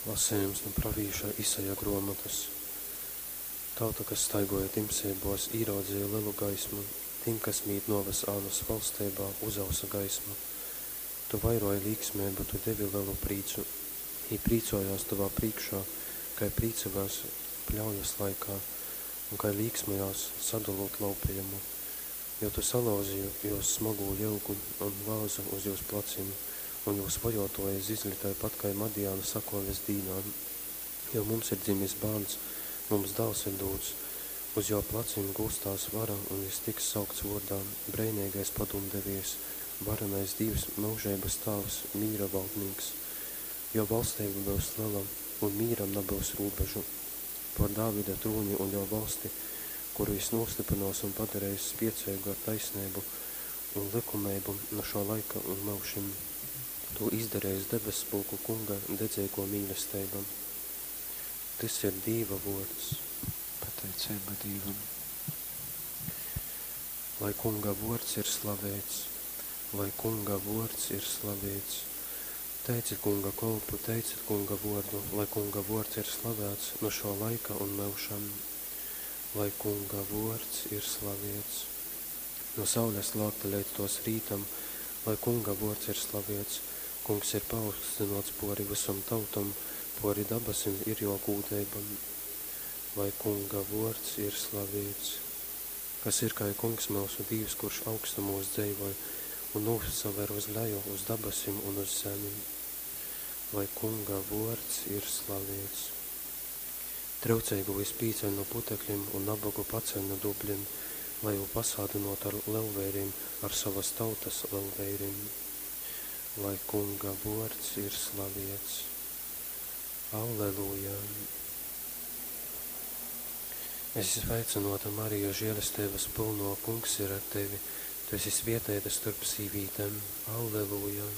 Lasejums nu pravīša Isaja gruomotys. Tauta, kas staiguoja timseibos, īraudzeja lelu gaismu, tim, kas mīt nuoves ānas valsteibā, uzausa gaisma. Tu vairuoji līksmeibu, tu devi lelu prīcu. Jī prīcuojās tovā prīškā, kai prīcovās pļaujas laikā un kai līksmojās, sadolūt laupejumu. Jo tu salauzi jūs smagū jyugu un vāzu uz jūs placim, un jūs vojōtōji zizli taipat kai Madiana sakōves dīnā. Jo mums ir dzimis bārns, mums dāls ir dūts, uz jō placim gulstās vara, un jys tiks saukts vōrdā, Breineigais Padūmdeviejs, Varenais Dīvs, Myužeibas Tāvs, Mīra Valdnīks. Jō valsteiba byus lela, un mīram nabyus rūbežu. Pōr Dāvida trūni un jō valsti, kuru jys nūstyprynōs un padareis spieceigu ar taisneibu un lykumeibu nu šō laika un myužim. Tū izdareis debesspulku Kunga dedzeigō mīlesteiba. Tys ir Dīva vōrds. Pateiceiba Dīvam. Lai Kunga vōrds ir slaveits! Lai Kunga vōrds ir slaveits! Teicit Kunga kolpu, teicit Kunga vōrdu, lai Kunga vōrds ir slavēts nu šō laika un myužam. Lai Kunga vōrds ir slaveits! Nu saules lākta leidz tōs rītam, lai Kunga vōrds ir slaveits. Kungs ir paaugstynōts pōri vysom tautom, pōri dabasim ir jō gūdeiba. Lai Kunga vōrds ir slaveits! Kas ir kai Kungs myusu Dīvs, kurš augstumūs dzeivoj un nūsaver uz leju, uz dabasim un uz zemi? Lai Kunga vōrds ir slaveits! Tryuceigū jys pīceļ nu puteklim un nabogu paceļ nu dublim, lai jū pasādynōtu ar lelveirim, ar sovas tautas lelveirim. Lai Kunga vōrds ir slaveits! Alleluja! Esi sveicynōta, Marija, želesteibas pylnō, Kungs ir ar tevi. Tu esi svieteita storp sīvītem. Alleluja!